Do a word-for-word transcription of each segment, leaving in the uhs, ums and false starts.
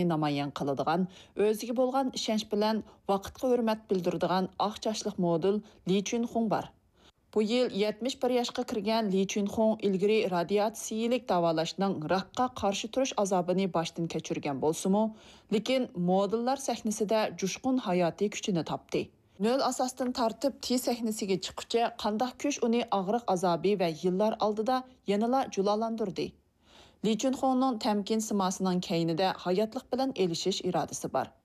نامايان قىلىدىغان، ئۆزىگە بولغان ئىشەنچ بىلەن ۋاقىتقا ھۆرمەت بىلدۈرىدىغان ئاق چاچلىق مودېل لى چۈنخۇڭ بار. بۇ يىل يەتمىش بىر ياشقا كىرگەن لى چۈنخۇڭ ئىلگىرى رادىياتسىيىلىك داۋالاشنىڭ راكقا قارشى تۇرۇش ئازابىنى باشتىن كەچۈرگەن بولسىمۇ، لېكىن مودېللار سەھنىسىدە جۇشقۇن ھاياتىي كۈچىنى تاپتى. نۆل ئاساستىن تارتىپ تى سەھنىسىگە چىققۇچە قانداق كۈچ ئۇنى ئاغرىق ئازابى ۋە يىللار ئالدىدا يەنىلا جۇلالاندۇردى؟ لى چۈنخۇڭنىڭ تەمكىن سىماسىنىڭ كەينىدە ھاياتلىق بىلەن ئېلىشىش ئىرادىسى بار.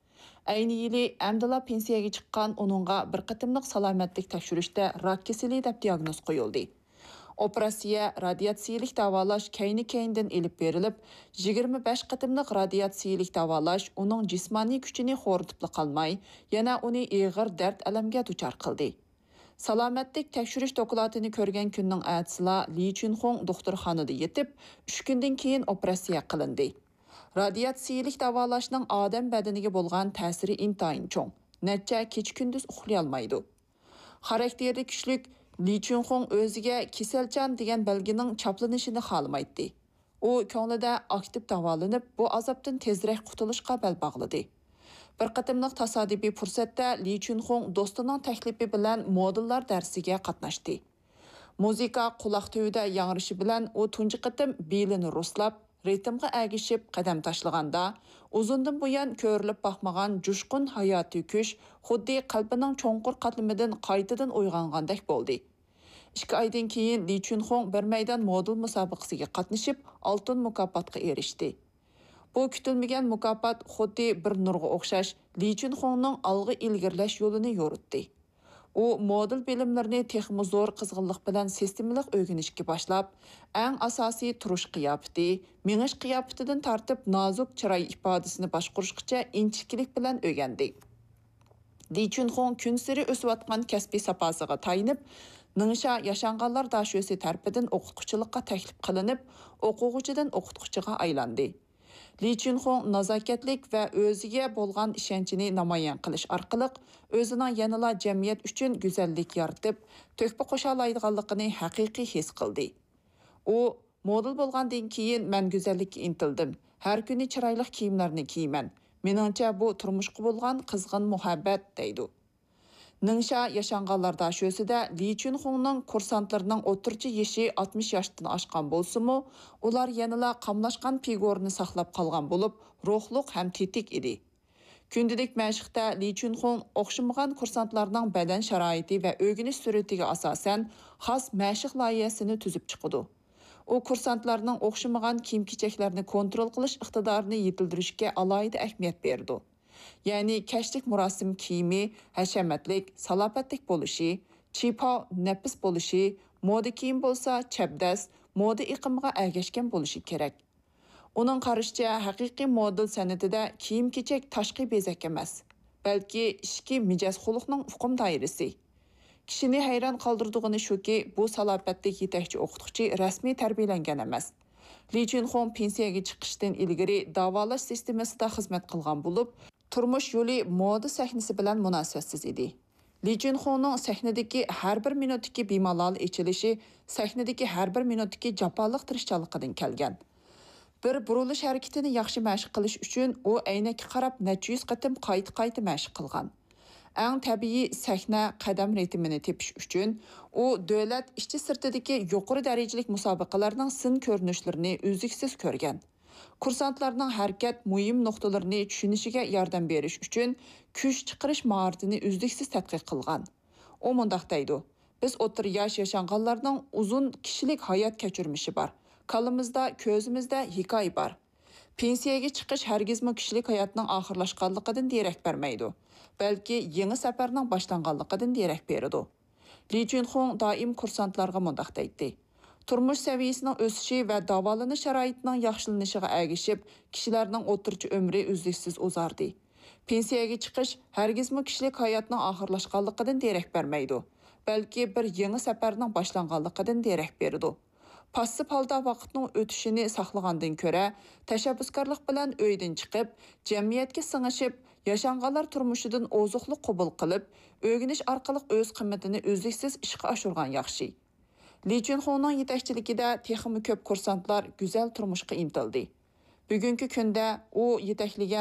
ئەينى يىلى ئەمدىلا پېنسىيەگە چىققان ئۇنىڭغا بىر قېتىملىق سالامەتلىك تەكشۈرۈشتە راك كېسىلى دەپ دىياگنوز قويۇلدى. ئوپېراتسىيە، رادىياتسىيىلىك داۋالاش كەينى-كەينىدىن ئېلىپ بېرىلىپ، يىگىرمە بەش قېتىملىق رادىياتسىيىلىك داۋالاش ئۇنىڭ جىسمانىي كۈچىنى خورىتىپلا قالماي، يەنە ئۇنى ئېغىر دەرد-ئەلەمگە دۇچار قىلدى. سالامەتلىك تەكشۈرۈش دوكلاتىنى كۆرگەن كۈننىڭ ئەتىسىلا لى چۈنخۇڭ دوختۇرخانىدا يېتىپ، ئۈچ كۈندىن كېيىن ئوپېراتسىيە قىلىندى. رادىياتسىيىلىك داۋالاشنىڭ ئادەم بەدىنىگە بولغان تەسىرى ئىنتايىن چوڭ. نەچچە كېچە-كۈندۈز ئۇخلىيالمايدۇ. خاراكتېرى كۈچلۈك لى چۈنخۇڭ ئۆزىگە كېسەلچان دېگەن بەلگىنىڭ چاپلىنىشىنى خالىمايتتى. ئۇ كۆڭلىدە ئاكتىپ داۋالىنىپ، بۇ ئازابتىن تېزرەك قۇتۇلۇشقا بەل باغلىدى. بىر قېتىملىق تاسادىپىي پۇرسەتتە لى چۈنخۇڭ دوستىنىڭ تەكلىپى بىلەن مودېللار دەرسىگە قاتناشتى. مۇزىكا قۇلاق تۈۋىدە ياڭرىشى بىلەن ئۇ تۇنجى قېتىم بېلىنى رۇسلاپ، رىتىمغا ئەگىشىپ قەدەم تاشلىغاندا، ئۇزۇندىن بۇيان كۆرۈلۈپ باقمىغان جۇشقۇن ھاياتىي كۈچ خۇددى قەلبىنىڭ چوڭقۇر قاتلىمىدىن قايتىدىن ئويغانغاندەك بولدى. ئىككى ئايدىن كېيىن لى چۈنخۇڭ بىر مەيدان مودېل مۇسابىقىسىگە قاتنىشىپ، ئالتۇن مۇكاپاتقا ئېرىشتى. بۇ كۈتۈلمىگەن مۇكاپات خۇددى بىر نۇرغا ئوخشاش، لى چۈنخۇڭنىڭ ئالغا ئىلگىرىلەش يولىنى يورۇتتى. ئۇ مودېل بىلىملىرىنى تېخىمۇ زور قىزغىنلىق بىلەن سىستېمىلىق ئۆگىنىشكە باشلاپ، ئەڭ ئاساسىي تۇرۇش قىياپىتى، مېڭىش قىياپىتىدىن تارتىپ نازۇك چىراي ئىپادىسىنى باشقۇرۇشقىچە ئىنچىكىلىك بىلەن ئۆگەندى. لى چۈنخۇڭ كۈنسېرى ئۆسۈۋاتقان كەسپىي ساپاسىغا تايىنىپ، نىڭشا ياشانغانلار داشۆسى تەرىپىدىن ئوقۇتقۇچىلىققا تەكلىپ قىلىنىپ، ئوقۇغۇچىدىن ئوقۇتقۇچىغا ئايلاندى. لى چۈنخۇڭ نازاكەتلىك ۋە ئۆزىگە بولغان ئىشەنچىنى نامايان قىلىش ئارقىلىق ئۆزىنىڭ يەنىلا جەمئىيەت ئۈچۈن گۈزەللىك يارىتىپ، تۆھپە قوشالايدىغانلىقىنى ھەقىقىي ھېس قىلدى. ئۇ، مودېل بولغاندىن كېيىن مەن گۈزەللىككە ئىنتىلدىم، ھەر كۈنى چىرايلىق كىيىملەرنى كىيىمەن. مېنىڭچە بۇ تۇرمۇشقا بولغان قىزغىن مۇھەببەت، دەيدۇ. نىڭشا ياشانغانلار داشۆسىدە لى چۈنخۇڭنىڭ كۇرسانتلىرىنىڭ ئوتتۇرىچە يېشى ئاتمىش ياشتىن ئاشقان بولسىمۇ، ئۇلار يەنىلا قاملاشقان پىگورىنى ساقلاپ قالغان بولۇپ، روھلۇق ھەم تېتىك ئىدى. كۈندىلىك مەشىقتە لى چۈنخۇڭ ئوخشىمىغان كۇرسانتلارنىڭ بەدەن شارائىتى ۋە ئۆگىنىش سۈرئىتىگە ئاساسەن خاس مەشىق لايىھەسىنى تۈزۈپ چىقىدۇ. ئۇ كۇرسانتلارنىڭ ئوخشىمىغان كىيىم-كېچەكلەرنى كونترول قىلىش ئىقتىدارىنى يېتىلدۈرۈشكە ئالاھىدە ئەھمىيەت بېرىدۇ. يەنى كەچلىك مۇراسىم كىيىمى ھەشەمەتلىك، سالاپەتلىك بولۇشى، چىپاۋ نەپىس بولۇشى، مودا كىيىم بولسا چەبدەس، مودا ئېقىمىغا ئەگەشكەن بولۇشى كېرەك. ئۇنىڭ قارىشىچە، ھەقىقىي مودېل سەنئىتىدە كىيىم-كېچەك تاشقى بېزەك ئەمەس، بەلكى ئىچكى مىجەز-خۇلقنىڭ ئۇقۇم دائىرىسى. كىشىنى ھەيران قالدۇرىدىغىنى شۇكى، بۇ سالاپەتلىك يېتەكچى ئوقۇتقۇچى رەسمىي تەربىيەلەنگەن ئەمەس. لى چۈنخۇڭ پېنسىيەگە چىقىشتىن ئىلگىرى داۋالاش سىستېمىسىدا خىزمەت قىلغان بولۇپ، تۇرمۇش يولى مودا سەھنىسى بىلەن مۇناسىۋەتسىز ئىدى. لى چۈنخۇڭنىڭ سەھنىدىكى ھەر بىر مىنۇتتىكى بىمالال ئېچىلىشى سەھنىدىكى ھەر بىر مىنۇتتىكى جاپالىق تىرىشچانلىقىدىن كەلگەن. بىر بۇرۇلۇش ھەرىكىتىنى ياخشى مەشىق قىلىش ئۈچۈن ئۇ ئەينەككە قاراپ نەچچە يۈز قېتىم قايتا-قايتا مەشىق قىلغان. ئەڭ تەبىئىي سەھنە قەدەم رىتىمىنى تېپىش ئۈچۈن ئۇ دۆلەت ئىچى-سىرتىدىكى يۇقىرى دەرىجىلىك مۇسابىقىلەرنىڭ سىن كۆرۈنۈشلىرىنى ئۈزلۈكسىز كۆرگەن. كۇرسانتلارنىڭ ھەرىكەت مۇھىم نۇقتىلىرىنى چۈشىنىشىگە ياردەم بېرىش ئۈچۈن كۈچ چىقىرىش ماھارىتىنى ئۈزلۈكسىز تەتقىق قىلغان. ئۇ مۇنداق دەيدۇ، بىز ئوتتۇرا ياش ياشانغانلارنىڭ ئۇزۇن كىشىلىك ھايات كەچۈرمىشى بار. كاللىمىزدا، كۆزىمىزدە ھېكايە بار. پېنسىيەگە چىقىش ھەرگىزمۇ كىشىلىك ھاياتنىڭ ئاخىرلاشقانلىقىدىن دېرەك بەرمەيدۇ، بەلكى يېڭى سەپەرنىڭ باشلانغانلىقىدىن دېرەك بېرىدۇ. لى چۈنخۇڭ دائىم كۇرسانتلارغا مۇنداق دەيتتى، تۇرمۇش سەۋىيەسىنىڭ ئۆسۈشى ۋە داۋالىنىش شارائىتىنىڭ ياخشىلىنىشىغا ئەگىشىپ، كىشىلەرنىڭ ئوتتۇرىچە ئۆمرى ئۈزلۈكسىز ئۇزاردى. پېنسىيەگە چىقىش ھەرگىزمۇ كىشىلىك ھاياتنىڭ ئاخىرلاشقانلىقىدىن دېرەك بەرمەيدۇ، بەلكى بىر يېڭى سەپەرنىڭ باشلانغانلىقىدىن دېرەك بېرىدۇ. پاسسىپ ھالدا ۋاقىتنىڭ ئۆتۈشىنى ساقلىغاندىن كۆرە، تەشەببۇسكارلىق بىلەن ئۆيدىن چىقىپ، جەمئىيەتكە سىڭىشىپ، ياشانغانلار تۇرمۇشىدىن ئوزۇقلۇق قوبۇل قىلىپ، ئۆگىنىش ئارقىلىق ئۆز قىممىتىنى ئۈزلۈكسىز ئىشقا ئاشۇرغان ياخشى. لى چۈنخۇنىڭ يېتەكچىلىكىدە تېخىمۇ كۆپ كۇرسانتلار گۈزەل تۇرمۇشقا ئىنتىلدى. بۈگۈنكى كۈندە ئۇ يېتەكلىگەن